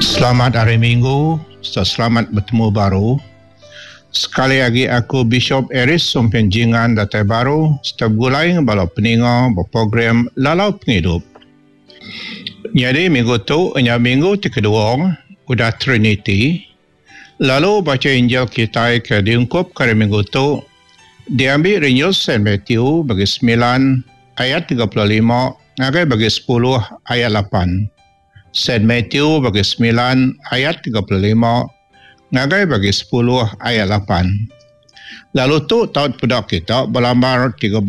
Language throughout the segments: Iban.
Selamat Hari Minggu serta selamat betemu baru. Sekali agi aku Bishop Aeries Sumpin Jingan datai baru serta begulai enggau bala peninga ba program Lalau Pengidup. Nyadi minggu tu nya minggu ti kedua udah Trinity lalu bacha Injil kitai ke diungkupka hari minggu tu diambi ari Injil Saint Matthew bagi semilan ayat 35 ngagai bagi sepuluh ayat lapan. Saint Matthew bagi semilan ayat 35 ngagai bagi sepuluh ayat lapan. Lalu tu tau dipeda kita ba lambar 13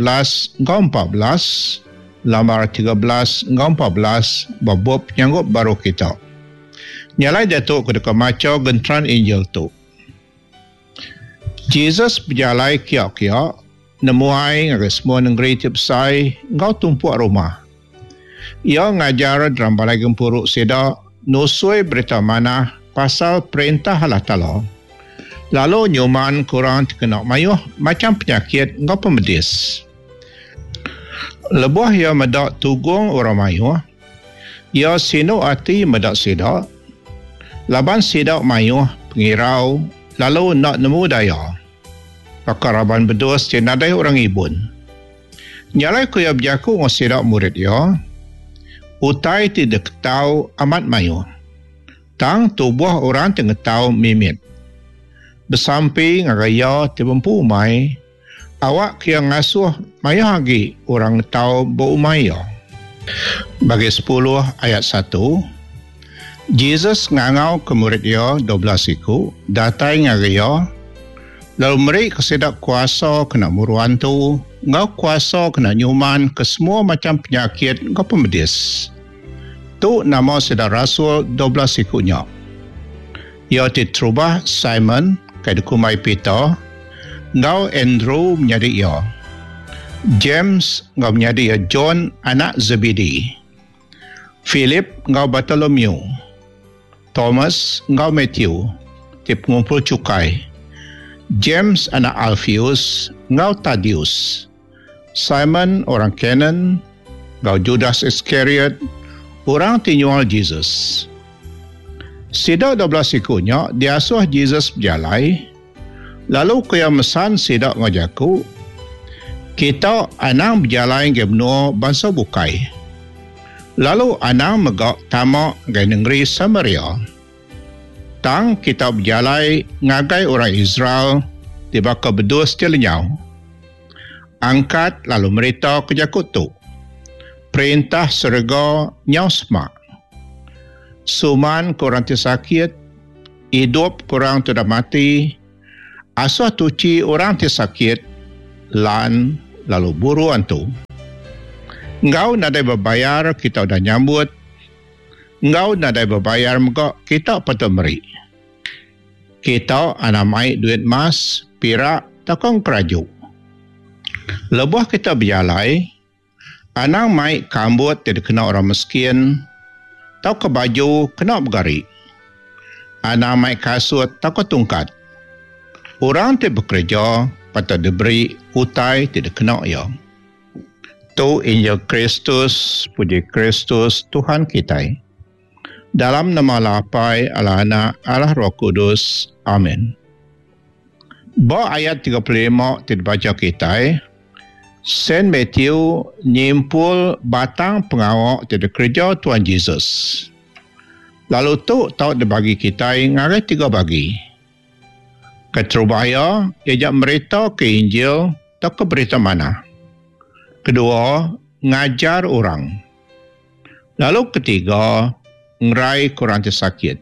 enggau 14, lambar 13 enggau 14 ba bup Penyanggup Baru kita. Nya alai diatu aku deka macha genteran Injil tu. Jesus bejalai kia-kia nemuai ngagai semua nengeri ti besai enggau tumpuk rumah. Iya ngajar dalam balai gempuru sida nusui berita manah pasal Perintah Allah Taala, lalu nyumanka orang ti kena mayuh macham penyakit enggau pemedis. Lebuh iya meda tugung orang mayuh, iya sinu ati meda sida, laban sida mayuh pengirau lalu enda nemu daya, baka raban bedus ti nadai orang ngibun. Nya alai ku iya bejaku enggau sida murid iya, Utai ti diketau amat mayuh, tang tubuh orang ti ngetau mimit. Besampi ngagai iya ti bempu umai, awakka iya ngasuh mayuh agi orang ngetau ba umai iya. Bagi sepuluh ayat satu, Jesus ngangauka murid iya 12 iku datai ngagai iya, lalu merika sida kuasa kena muru antu enggau kuasa kena nyumanka semua macham penyakit enggau pemedis. Tu nama sida rasul 12 iku nya. Iya ti terubah Simon, ke dikumbai Peter, enggau Andrew menyadi iya, James enggau menyadi iya John anak Zebedi, Philip enggau Bartolomew, Thomas enggau Matthew ti pengumpul chukai, James anak Alfeus enggau Tadius, Simon orang Kanaan enggau Judas Iskariot, orang ti nyual Jesus. Sida 12 iku nya diasuh Jesus bejalai, lalu ku iya mesan sida enggau jaku, Kita anang bejalai ngagai menua bansa bukai, lalu anang mega tama ngagai nengeri Samaria. Tang kita bejalai ngagai orang Israel ti baka bedus ti lenyau. Angkat lalu meritaka jaku tu, Perintah serega nyau semak. Suman ke orang ti sakit, idup ke orang ti udah mati, asuh tuchi orang ti sakit, lan lalu buru antu. Enggau nadai bebayar kita udah nyambut, enggau nadai bebayar mega kita patut meri. Kita anang mai duit mas, pirak tauka engkeraju. Lebuh kita bejalai, anang mai kambut ti dikena orang meskin tauka baju kena begari. Anang mai kasut tauka tungkat. Orang ti bekereja patut diberi utai ti dikena iya. Tu Injil Kristus, puji Kristus Tuhan kitai. Dalam nama Allah Apai, Allah Anak, Allah Roh Kudus. Amin. Ba ayat 35 ti dibacha kitai, Saint Matthew nyimpul batang pengawa ti dikereja Tuan Jesus. Lalu tu tau dibagi kitai ngagai tiga bagi. Keterubah iya, iya nya meritaka Injil tauka Berita Manah. Kedua, ngajar orang. Lalu ketiga, ngeraika orang ti sakit.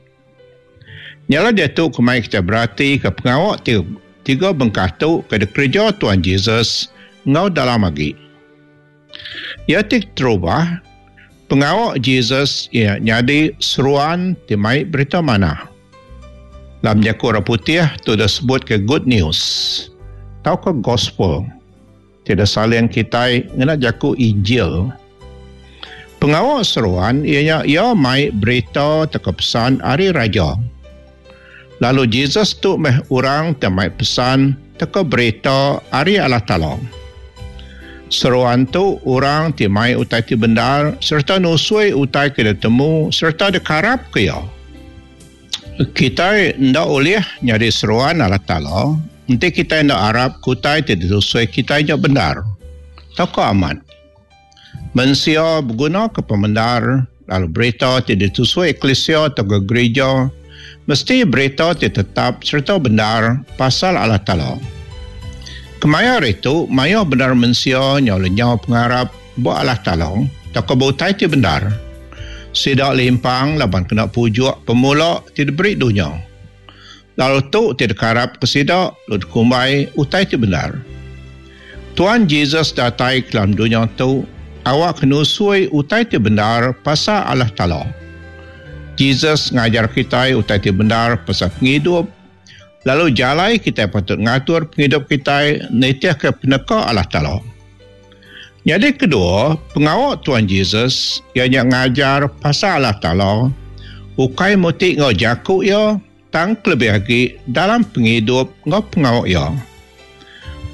Nya alai diatu kemai kitai beratika pengawa ti tiga bengkah tu ke dikereja Tuan Jesus enggau dalam agi. Iya ti keterubah, pengawa Jesus iya nyadi seruan ti mai berita manah. Dalam jaku orang putih tu disebutka good news tauka gospel. Ti disalin kitai ngena jaku Injil. Pengawa seruan iya nya iya mai berita tauka pesan ari Raja. Lalu Jesus tu meh orang ti mai pesan tauka berita ari Allah Taala. Seruan tu orang ti mai utai ti bendar sereta nusui utai ke ditemu sereta dikarapka iya. Kitai enda ulih nyadi seruan Allah Taala enti kitai enda arap ke utai ti ditusui kitai nya bendar tauka amat. Mensia begunaka pemendar lalu berita ti ditusui eklisia tauka gerija mesti berita ti tetap sereta bendar pasal Allah Taala. Kemaya hari tu mayuh bendar mensia nyau lenyau pengarap ba Allah Taala tauka ba utai ti bendar. Sida limpang laban kena pujuk pemula ti diberi dunya. Lalu tu ti dikarapka sida lalu dikumbai utai ti bendar. Tuan Jesus datai ke dalam dunya tu awakka nusui utai ti bendar pasal Allah Taala. Jesus ngajar kitai utai ti bendar pasal pengidup lalu jalai kitai patut ngatur pengidup kitai nitihka peneka Allah Taala. Nyadi kedua, pengawa Tuan Jesus iya nya ngajar pasal Allah Taala ukai muti enggau jaku iya tang kelebih agi dalam pengidup enggau pengawa iya.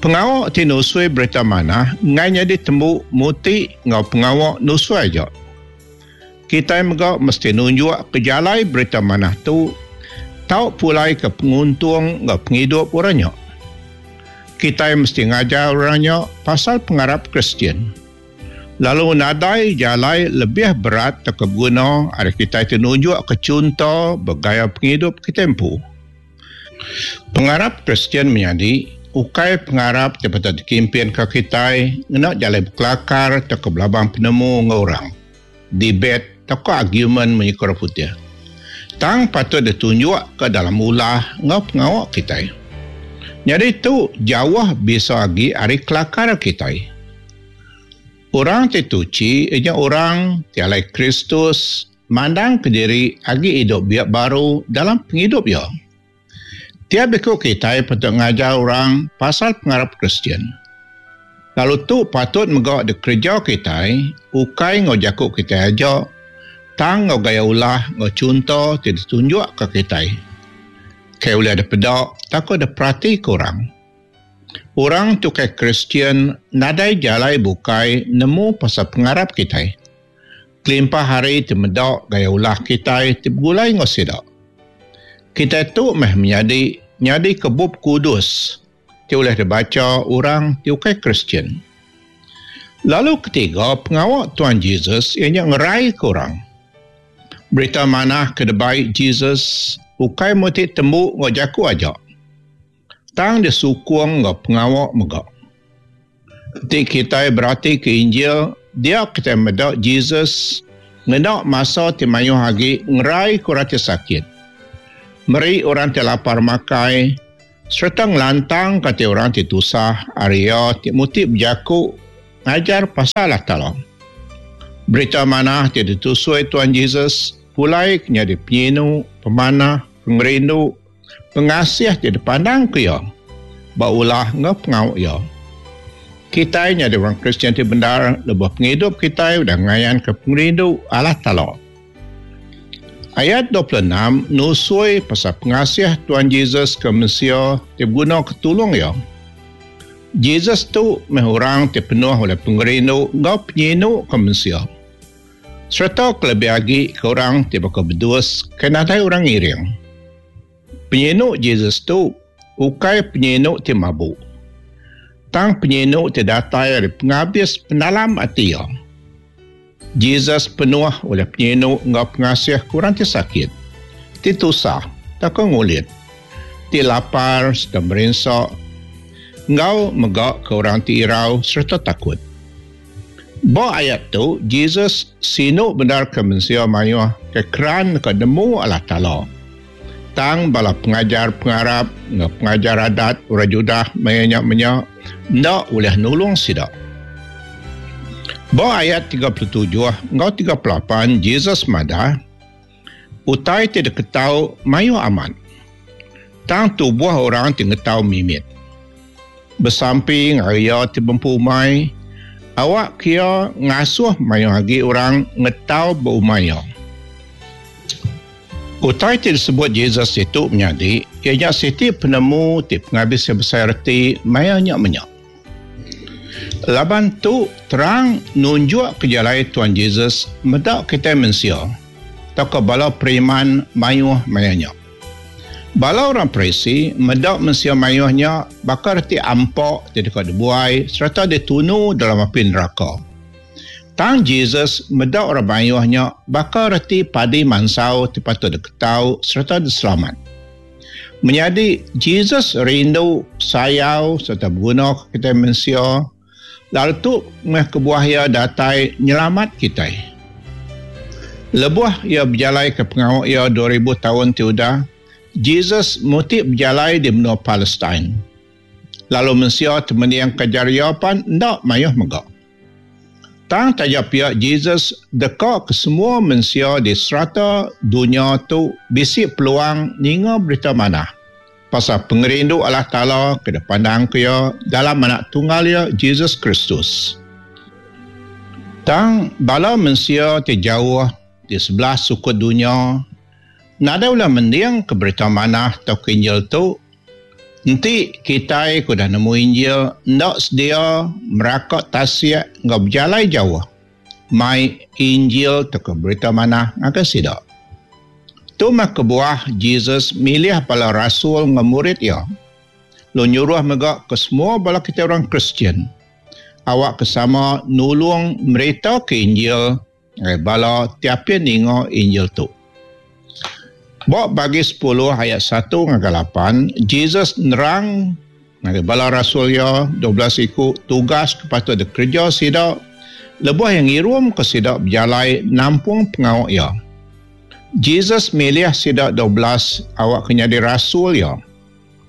Pengawa ti nusui Berita Manah enggai nyadi tembu muti enggau pengawa nusui aja. Kitai mega mesti nunjuk ke jalai Berita Manah tu tau pulai ke penguntung enggau pengidup orang nya. Kitai mesti ngajar orang nya pasal pengarap Kristian. Lalu nadai jalai lebih berat tauka beguna ari kitai ti nunjukka chunto ba gaya pengidup kitai empu. Pengarap Kristian menyadi ukai pengarap ti patut dikimpinka kitai ngena jalai bekelakar tauka belabang penemu enggau orang, debate tauka argumen munyi ke orang putih. Tang patut ditunjukka dalam ulah enggau pengawa kitai. Nyadi tu jauh bisa agi ari kelakar kitai. Orang ti tuchi iya nya orang ti alai Kristus mandangka diri agi idup biak baru dalam pengidup iya. Tiap iku kitai patut ngajar orang pasal pengarap Kristian. Lalu tu patut mega dikereja kitai ukai enggau jaku kitai aja tang enggau gaya ulah enggau chunto ti ditunjukka kitai ke ulih dipeda tauka diperatika orang. Orang ti ukai Kristian nadai jalai bukai nemu pasal pengarap kitai kelimpah ari ti meda gaya ulah kitai ti begulai enggau sida. Kitai tu meh menyadi nyadika Bup Kudus ti ulih dibacha orang ti ukai Kristian. Lalu ketiga, pengawa Tuan Jesus iya nya ngeraika orang. Berita manah ke dibai Jesus ukai meh ti tembu enggau jaku aja, tang disukung enggau pengawa mega. Enti kitai beratika Injil, dia kitai meda Jesus ngena masa ti mayuh agi ngeraika orang ti sakit, meri orang ti lapar makai, sereta ngelantangka ati orang ti tusah ari iya ti muti bejaku ngajar pasal Allah Taala. Berita manah ti ditusui Tuan Jesus pulai ke nyadi penyinu, pemanah, pengerindu, pengasih ti dipandangka iya ba ulah enggau pengawa iya. Kitai nyadi orang Kristian ti bendar lebuh pengidup kitai udah ngayanka pengerindu Allah Taala. Ayat 26 nusui pasal pengasih Tuan Jesus ke mensia ti begunaka tulung iya. Jesus tu meh orang ti penuh ulih pengerindu enggau penyinu ke mensia. Sereta kelebih agi ke orang ti baka bedus ke nadai orang ngiring. Penyinu Jesus tu ukai penyinu ti mabuk, tang penyinu ti datai ari pengabis penalam ati iya. Jesus penuh ulih penyinu enggau pengasih ke orang ti sakit, ti tusah tauka ngulit, ti lapar sereta merinsa, enggau mega ke orang ti irau sereta takut. Ba ayat tu, Jesus sinu bendar ke mensia mayuh ke keran deka nemu Allah Taala. Tang bala pengajar pengarap enggau pengajar adat orang Judah maya nya menya enda ulih nulung sida. Ba ayat 37 enggau 38 Jesus madah, Utai ti diketau mayuh amat, tang tubuh orang ti ngetau mimit. Besampi ngagai iya ti bempu umai, awakka iya ngasuh mayuh agi orang ngetau ba umai iya. Utai ti disebut Jesus ditu menyadi, iya nya siti penemu ti pengabis iya besai reti maya nya menya. Laban tu terang nunjukka jalai Tuan Jesus meda kitai mensia tauka bala periman mayuh maya nya. Bala orang Parisi meda mensia mayuh nya baka reti ampa ti deka dibuai sereta ditunu dalam api neraka. Tang Jesus meda orang mayuh nya baka reti padi mansau ti patut diketau sereta diselamat. Menyadi, Jesus rindu, sayau sereta begunaka kitai mensia, lalu tu meh kebuah iya datai nyelamat kitai. Lebuh iya bejalaika pengawa iya 2000 taun ti udah, Jesus muti bejalai di menua Palestine. Lalu mensia ti mendingka ajar iya pan enda mayuh mega. Tang taja pia Jesus deka ke semua mensia di serata dunya tu bisi peluang ninga Berita Manah pasal pengerindu Allah Taala ke dipandangka Iya dalam Anak Tunggal Iya, Jesus Kristus. Tang bala mensia ti jauh di sebelah sukut dunya nadai ulih mendingka Berita Manah tauka Injil tu enti kitai ke udah nemu Injil enda sedia meraka tasik enggau bejalai jauh mai Injil tauka Berita Manah ngagai sida. Tu meh kebuah Jesus milih bala rasul enggau murid iya, lalu nyuruh mega ke semua bala kitai orang Kristian awakka sama nulung meritaka Injil ngagai bala ti apin ninga Injil tu. Ba bagi sepuluh ayat satu ngagai lapan, Jesus nerang ngagai bala rasul iya 12 iku tugas ke patut dikereja sida lebuh iya ngirumka sida bejalai nampung pengawa iya. Jesus milih sida 12 awakka nyadi rasul iya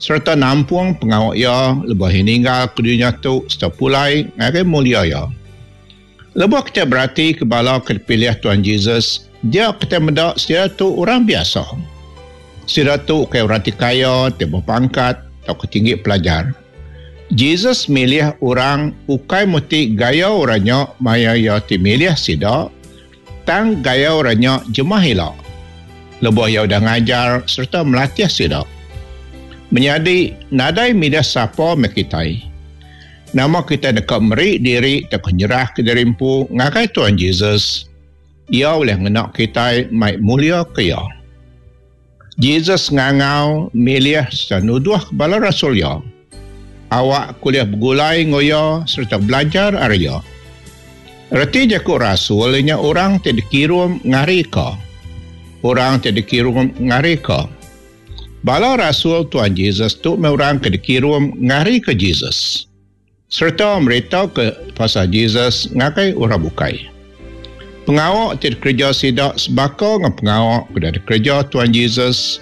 sereta nampung pengawa iya lebuh iya ninggalka dunya tu sereta pulai ngagai mulia iya. Lebuh kitai beratika bala ke dipilih Tuan Jesus, dia kitai meda sida tu orang biasa. Sida tu ukai orang ti kaya, ti bepangkat, tauka tinggi pelajar. Jesus milih orang ukai meti gaya orang nya maya iya ti milih sida, tang gaya orang nya jemah ila lebuh iya udah ngajar sereta melatih sida. Menyadi, nadai milih sapa meh kitai. Nama kitai deka meri diri tauka nyerahka diri empu ngagai Tuan Jesus, Iya ulih ngena kitai mai muliaka Iya. Jesus ngangau, milih sereta nuduhka bala rasul Iya. Awak ke ulih begulai enggau Iya sereta belajar ari Iya. Reti jaku rasul iya nya orang ti dikirum ngarika. Orang ti dikirum ngarika. Bala rasul Tuan Jesus tu meh orang ke dikirum ngarika Jesus sereta meritaka pasal Jesus ngagai orang bukai. Pengawa ti dikereja sida sebaka enggau pengawa ke udah dikereja Tuan Jesus,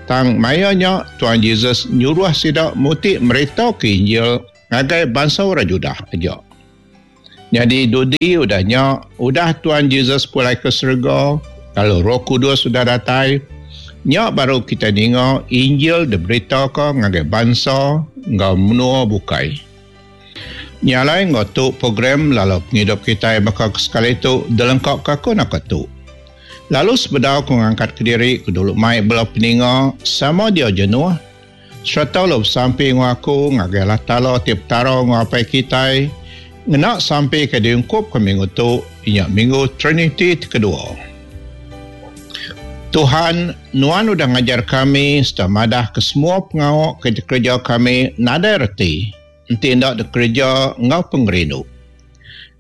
tang maya nya Tuan Jesus nyuruh sida muti meritaka Injil ngagai bansa orang Judah aja. Nyadi dudi udah nya, udah Tuan Jesus pulai ke serega, lalu Roh Kudus udah datai, nya baru kitai ninga Injil diberitaka ngagai bansa enggau menua bukai. Nya alai enggau tu program lalau pengidup kitai baka ke sekali tu dilengkaka aku naka tu. Lalu sebedau aku ngangkatka diri ke dulu mai bala peninga sama dia jenuh, Sereta lalu besampi enggau aku ngagai Allah Taala ti Petara enggau Apai kitai, ngena sampi ke diungkupka minggu tu, iya nya Minggu Triniti ti kedua. Tuhan, Nuan udah ngajar kami sereta madahka semua pengawa ke dikereja kami nadai reti enti enda dikereja enggau pengerindu.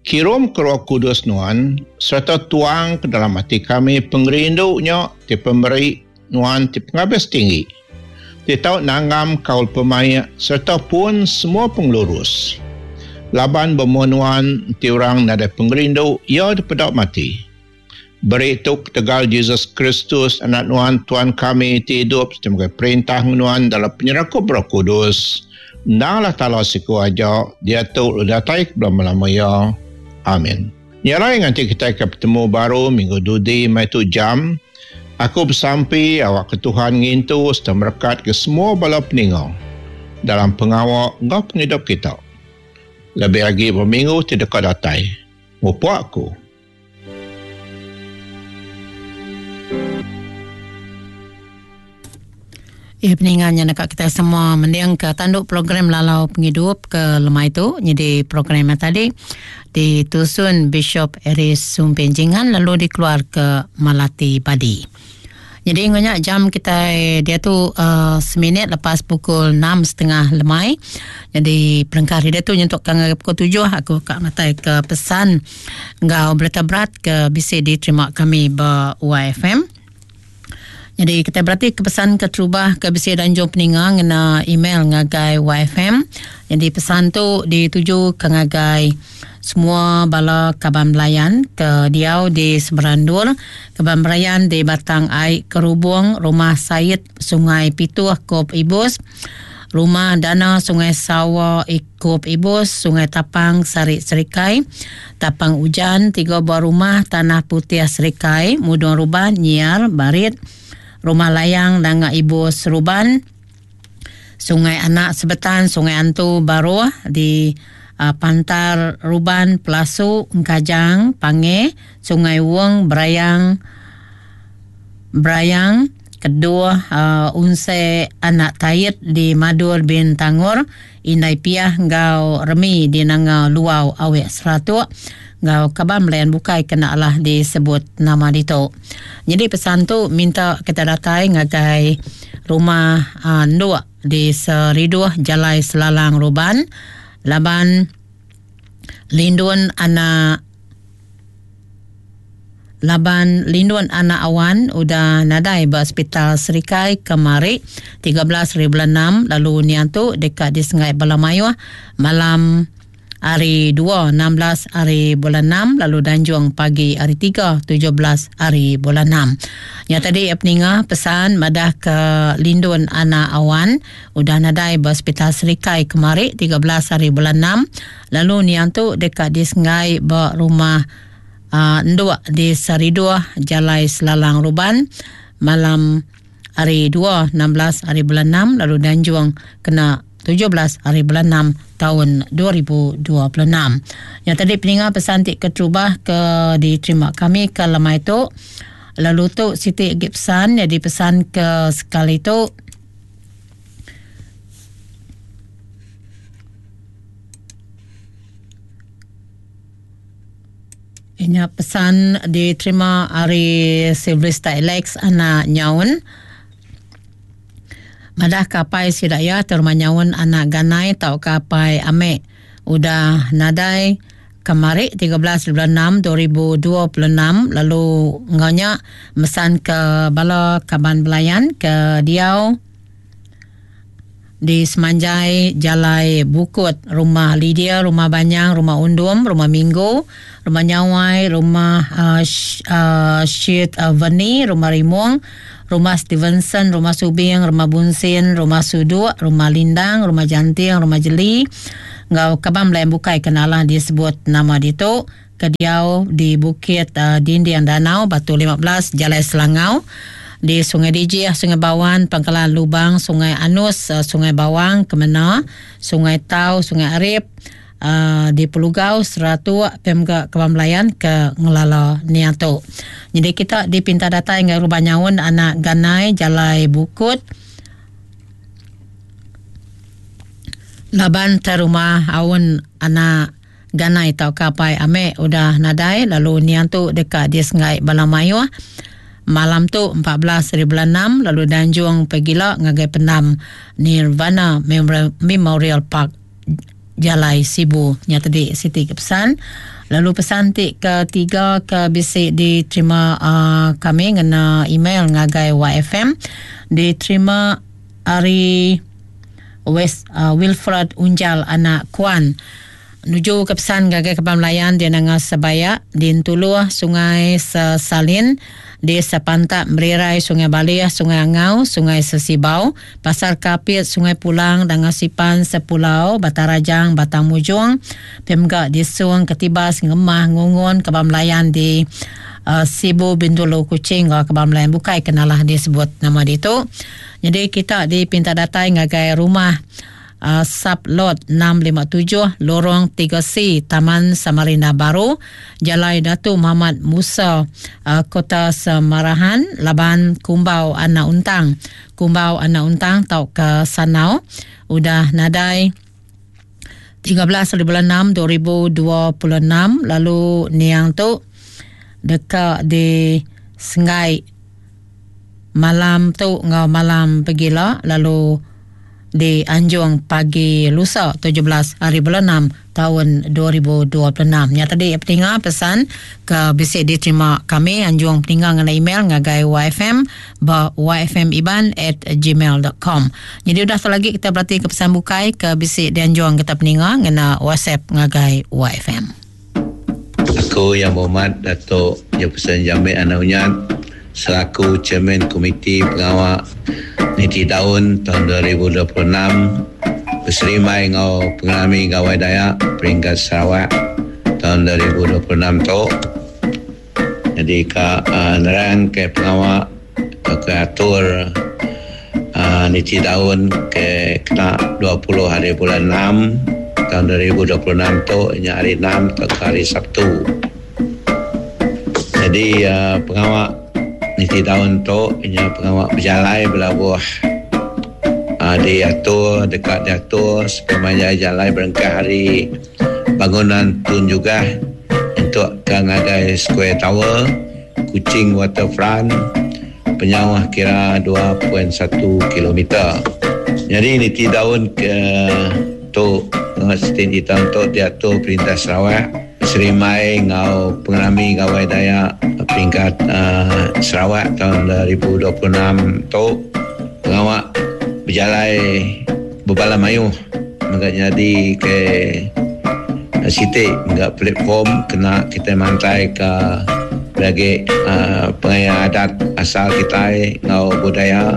Kirumka Roh Kudus Nuan sereta tuangka dalam ati kami pengerindu nya ti pemeri Nuan ti pengabis tinggi, ti tau nanggam kaul pemaik sereta pun semua pengelurus. Laban ba mua Nuan enti orang nadai pengerindu, iya dipeda mati. Beri tu ketegal Jesus Kristus, Anak Nuan, Tuan kami, ti idup sereta megai perintah enggau Nuan dalam penyerakup Roh Kudus, endang Allah Taala siku aja, diatu lalu datai ke belama-lama iya. Amin. Nya alai nganti kitai ke betemu baru minggu dudi meh tu jam, aku besampi awakka Tuhan ngintu sereta merekatka semua bala peninga dalam pengawa enggau pengidup kita. Lebih agi ba minggu ti deka datai. Mupuk aku. Iya peninga nya neka kitai semua mendingka tandu program lalau pengidup ke lemai tu nyadi program nya tadi ditusun Bishop Aris Sumpin Jingan lalu dikeluarka Malati Badi. Jadi enggau nya jam kitai diatu uh, seminit lepas pukul 6.30 lemai. Jadi perengkah hari diatu nyentuk ke ngagai pukul 7 aku ka ngatai ke pesan enggau berita berat ke bisi diterima kami ba YFM. Jadi kita berarti ke pesan keterubah ke bisi danjung peninga ngena email ngagai YFM. Jadi pesan tu dituju ke ngagai Semua bala kaban belayan ke diau di Semerandur, kaban belayan di Batang Ai Kerubung, Rumah Said, Sungai Pituh, Kop Ibus, Rumah Dana Sungai Sawa, Kop Ibus, Sungai Tapang, Sarik Serikai, Tapang Ujan, tiga buah rumah Tanah Putih Serikai, Mudung Ruban, Nyiar, Barit, Rumah Layang, Nanga Ibus, Ruban, Sungai Anak Sebetan, Sungai Antu, Baruh di Pantar Ruban, Pelasu, Engkajang, Pange, Sungai Wong, Berayang, Berayang, Keduh, Unse Anak Tait di Madur Bintangor, Indai Piah enggau Remi di Nanga Luau Awek Seratuk enggau kaban belayan bukai ke enda alah disebut nama ditu. Nyadi pesan tu minta kita datai ngagai rumah enduk di Seriduh Jalai Selalang Ruban laban Lindun anak laban Lindun anak Awan udah nadai ba Sepital Serikai kemari 13 hari bulan enam lalu niang tu deka disenggai bala mayuh malam Hari dua, 16 hari bulan enam lalu danjung pagi hari tiga, 17 hari bulan enam. Nya tadi iya peninga pesan madah ke Lindun anak Awan udah nadai ba Sepital Serikai kemari 13 hari bulan enam lalu niang tu deka disenggai ba rumah uh, enduk di Sariduh Jalai Selalang Ruban malam hari dua, 16 hari bulan enam lalu danjung kena 17 hari bulan 6 taun 2026. Nya tadi peninga pesan ti keterubah ke diterima kami ke lemai tu. Lalu tu siti agi pesan nyadi pesan ke sekali tu. Inya pesan diterima ari Sylvester Alex anak Nyaun. Madah ke apai sida iya terma nyaun anak Ganai tauka apai Amek udah nadai kemari 13 bulan 6 2026 lalu enggau nya mesan ke bala kaban belayan ke diau di semanjai Jalai Bukut, Rumah Lydia, Rumah Banyang, Rumah Undum, Rumah Minggu, Rumah Nyawai, Rumah uh, uh, Sheet uh, Veni, Rumah Rimong, Rumah Stevenson, Rumah Subing, Rumah Bunsin, Rumah Suduk, Rumah Lindang, Rumah Janting, Rumah Jeli, enggau kaban belayan bukai ke nalah disebut nama ditu ke diau di Bukit uh, Dinding Danau, Batu 15, Jalai Selangau, di Sungai Dijih, Sungai Bawan, Pangkalan Lubang, Sungai Anus, uh, Sungai Bawang, Kemena, Sungai Tau, Sungai Arip, uh, di Pelugau, Seratuk, Pemga Kebang Belayan ke ngelala niang tu. Jadi kita dipinta datai enggau Rumah Nyaun Anak Ganai, Jalai Bukut, laban te rumah aun anak Ganai tauka apai Amek udah nadai lalu niang tu deka disenggai bala mayuh malam tu 14 hari bulan 6 lalu danjung pegila ngagai pendam Nirvana Memorial Park Jalai Sibu. Nya tadi siti ke pesan. Lalu pesan ti ketiga ke bisi diterima uh, kami ngena email ngagai YFM diterima ari West uh, Wilfred Unjal anak Kuan nuju ke pesan ngagai Kaban Melayan di Nanga Sebayak di Entuluh Sungai Sesalin di Sepantak Merirai Sungai Balih Sungai Angau Sungai Sesibau Pasar Kapit Sungai Pulang Nanga Sipan Sepulau Batang Rajang Batang Mujong pia mega di Song Ketibas Ngemah Ngungun Kaban Melayan di uh, Sibu Bintulu Kuching enggau Kaban Melayan bukai ke nalah disebut nama ditu. Nyadi kita dipinta datai ngagai rumah uh, Sub Lot 657 Lorong 3C Taman Samarinda Baru, Jalai Datu Muhammad Musa, uh, Kota Semarahan, Laban Kumbau Anak Untang. Kumbau Anak Untang tauka Sanau udah nadai 13 hari bulan 6 2026 lalu niang tu deka di Senggai. malam tu enggau malam pegila lalu di anjung pagi lusa 17 hari bulan 6 taun 2026. Nya tadi peninga pesan ke bisi diterima kami anjung peninga ngena email ngagai yfm ba yfmiban@gmail.com. Jadi udah tu lagi kita berarti ke pesan bukai ke bisi dianjung kita peninga ngena WhatsApp ngagai YFM. Aku Yang Berhormat Datuk Jefferson Jamit Anak Unyat selaku Chairman Komiti Pengawa Niti Daun taun 2026 beserimbai enggau Pengerami Gawai Dayak Peringkat Sarawak taun 2026 tu nyadi ka nerang ke pengawa tauka atur niti daun ke kena 20 hari bulan enam taun 2026 tu nya hari enam tauka hari Sabtu. Nyadi pengawa niti daun tu nya pengawa bejalai belabuh diatur deka diatur sepemanjai jalai berengkah ari Bangunan Tun Jugah entuk ka ngagai Square Tower, Kuching Waterfront penyauh kira 2.1 kilometer. Nyadi niti daun ke tu siti niti taun tu diatur Perintah Sarawak beserimbai enggau Pengerami Gawai Dayak Peringkat Sarawak taun 2026 tu pengawa bejalai bebala mayuh mega nyadi ke siti mega platform kena kitai mantai ka lagi pengaya adat asal kitai enggau budaya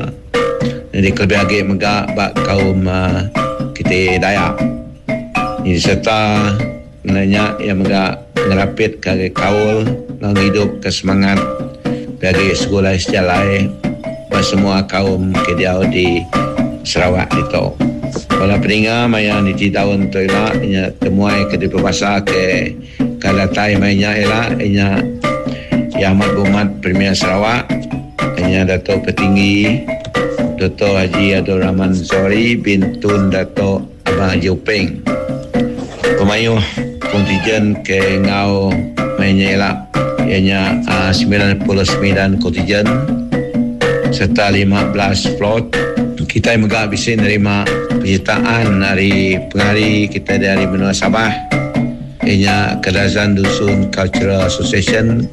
nyadi kelebih agi mega ba kaum kitai Dayak. Sereta ngena nya iya mega ngerapit ka agi kaul enggau ngidup ka semangat agi segulai sejalai ba semua kaum ke diau di Sarawak ditu. Bala peninga maya niti taun tu ila inya temuai ke dipebasa ke ka datai maya nya ila inya Yang Amat Berhormat Premier Sarawak inya Dato Patinggi Doktor Haji Abdul Rahman Zohari bin Tun Dato Abang Haji Openg. Pemayuh kontijen ke enggau maya nya ila iya nya 99 kontijen sereta 15 float. Kitai mega bisi nerima penyertaan ari pengari kitai dari menua Sabah iya nya Kadazan Dusun Cultural Association,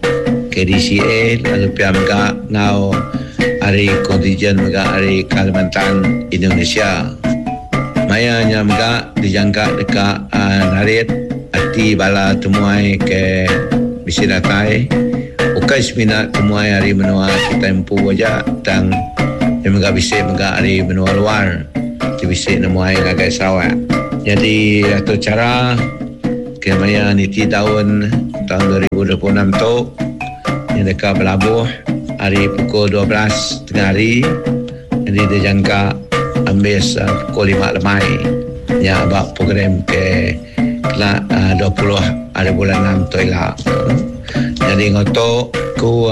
KDCA, lalu pia mega enggau ari kontijen mega ari Kalimantan, Indonesia. Maya nya mega dijangka deka narit ati bala temuai ke bisi datai ukai semina temuai ari menua kitai empu aja tang iya mega bisi mega ari menua luar ti bisi nemuai ngagai Sarawak. Nyadi atur chara ke maya niti taun taun 2026 tu nya deka belabuh ari pukul 12 tengah hari. Nyadi dijangka ambis pukul 5 lemai nya ba program ke kena 20 hari bulan 6 tu ila. Nyadi enggau tu ku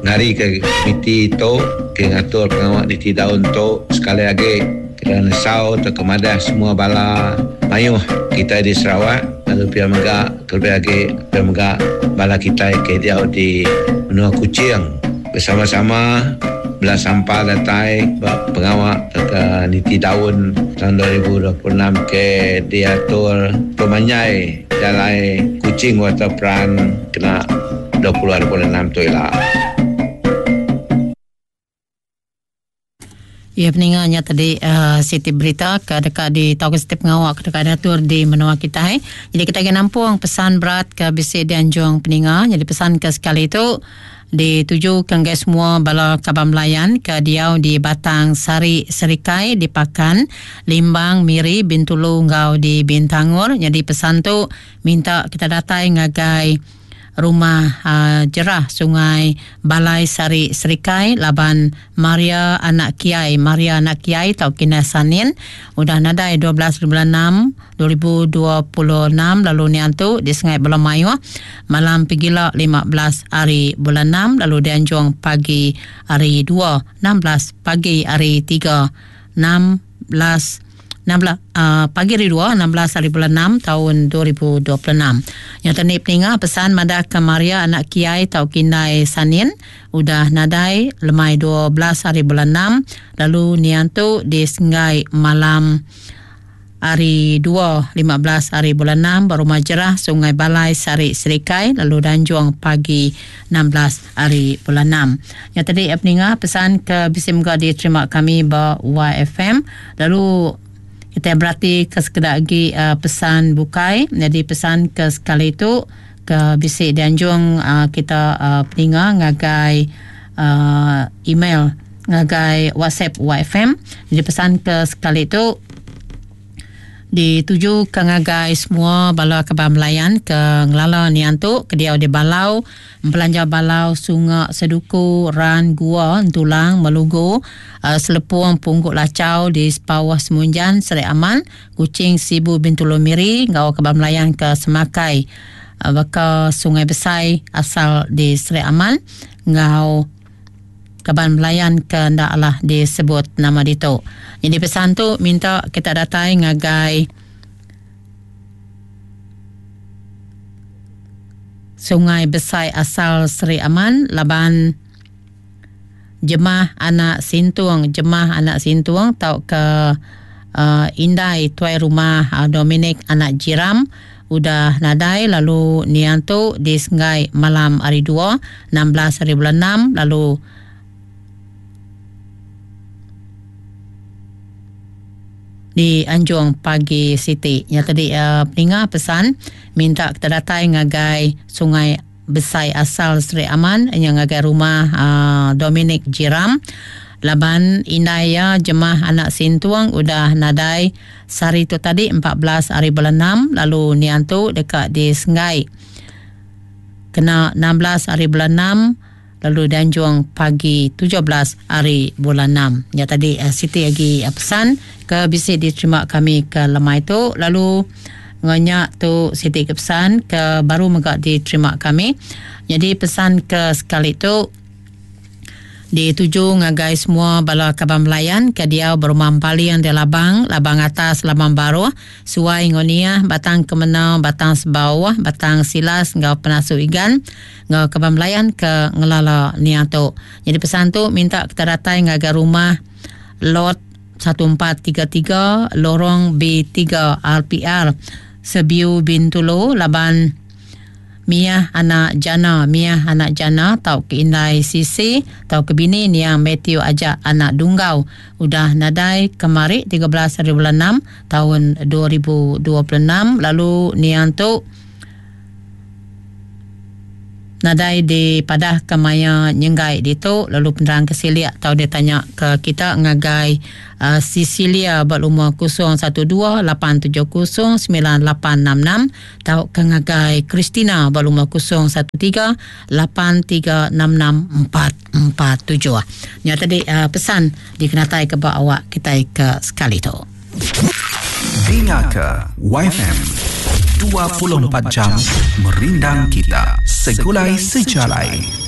ngari ke komiti tu ke ngatur pengawa niti daun tu sekali agi kena nesau tauka madah semua bala mayuh kitai di Sarawak lalu pia mega kelebih agi pia mega bala kitai ke diau di menua Kuching bersama-sama bela sampal datai ba pengawa tauka niti daun taun 2026 ke diatur pemanjai jalai Kuching Waterfront kena 20 hari bulan 6 tu ila. Iya peninga nya tadi uh, siti berita ke deka di tauka siti pengawa ke deka diatur di menua kitai. Jadi kita akan nampung pesan berat ke bisi dianjung peninga. Jadi pesan ke sekali tu dituju ke enggai semua bala kaban belayan ke diau di Batang Sari Serikai di Pakan, Limbang, Miri, Bintulu enggau di Bintangor. Jadi pesan tu minta kita datai ngagai Rumah Jerah Sungai Balai Sari Serikai laban Maria anak Kiai Maria anak Kiai tau Kinah Sanin udah nadai 12 bulan 6 2026 lalu nian tu di Sungai Bala Mayuh malam pegila 15 hari bulan 6 lalu dianjung pagi hari 2 16 pagi hari 3 16. 16 uh, pagi hari 2 16 hari bulan 6 tahun 2026. Yang tadi peninga pesan madah ke Maria anak Kiai tau Kindai Sanin udah nadai lemai 12 hari bulan 6 lalu nian tu di Senggai malam Hari 2, 15 hari bulan 6 ba Rumah Jerah, Sungai Balai, Sarik Serikai lalu Danjung pagi 16 hari bulan 6. Nya tadi peninga pesan ke bisi mega diterima kami ba YFM lalu kita berati ke sekeda agi pesan bukai. Nyadi pesan ke sekali tu ke bisi dianjung kita peninga ngagai email ngagai WhatsApp YFM. Jadi pesan ke sekali tu dituju ke ngagai semua bala kaban belayan ke ngelala nian tu ke diau di Balau, Belanja Balau, Sunga, Seduku, Ran, Gua, Entulang, Melugu, Selepung, Punggu Lachau di Sepauh Semunjan, Seri Aman, Kuching, Sibu, Bintulu, Miri enggau kaban belayan ke Semakai baka Sungai Besai asal di Seri Aman enggau Kaban belayan ke enda alah disebut nama ditu. Nyadi pesan tu minta kita datai ngagai Sungai Besai asal Seri Aman laban jemah anak Sintung, jemah anak Sintung tauka uh, indai tuai rumah uh, Dominic anak Jiram udah nadai lalu niang tu disenggai malam hari 2 16 hari bulan 6 lalu dianjung pagi siti. Nya tadi uh, peninga pesan minta kita datai ngagai Sungai Besai asal Sri Aman nya ngagai rumah uh, Dominic Jiram laban indai iya jemah anak Sintung udah nadai sehari tu tadi 14 hari bulan 6 lalu niang tu deka disenggai kena 16 hari bulan 6 lalu dianjung pagi 17 hari bulan 6. Nya tadi uh, siti agi uh, pesan ke bisi diterima kami ke lemai tu lalu ngenya tu siti ke pesan ke baru mega diterima kami. Jadi pesan ke sekali tu dituju ngagai semua bala kaban belayan ke diau berumah Empaling di Labang, Labang Atas, Labang Baruh, Suai enggau Niah, Batang Kemena, Batang Sebauh, Batang Silas enggau Penasu Igan enggau kaban belayan ke ngelala Niah tu. Jadi pesan tu minta kita datai ngagai rumah Lot 1433 Lorong B3 RPR Sebiu Bintulu laban Miyah anak Jana, Miyah anak Jana tau ke indai Sisi tau ke bini niang Mathew Ajak anak Dunggau udah nadai kemari 13 hari bulan 6 taun 2026 lalu niang tu nadai dipadah ke maya nyenggai ditu lalu penerang ke silik tau ditanya ke kita ngagai uh, Cecilia ba lumur 012 870 9866 tauka ngagai Christina ba lumur 013 8366 447. Nya tadi uh, pesan dikenatai ke ba awak kitai ke sekali tu. Dinga ke YFM 24 jam merindang kita segulai sejalai.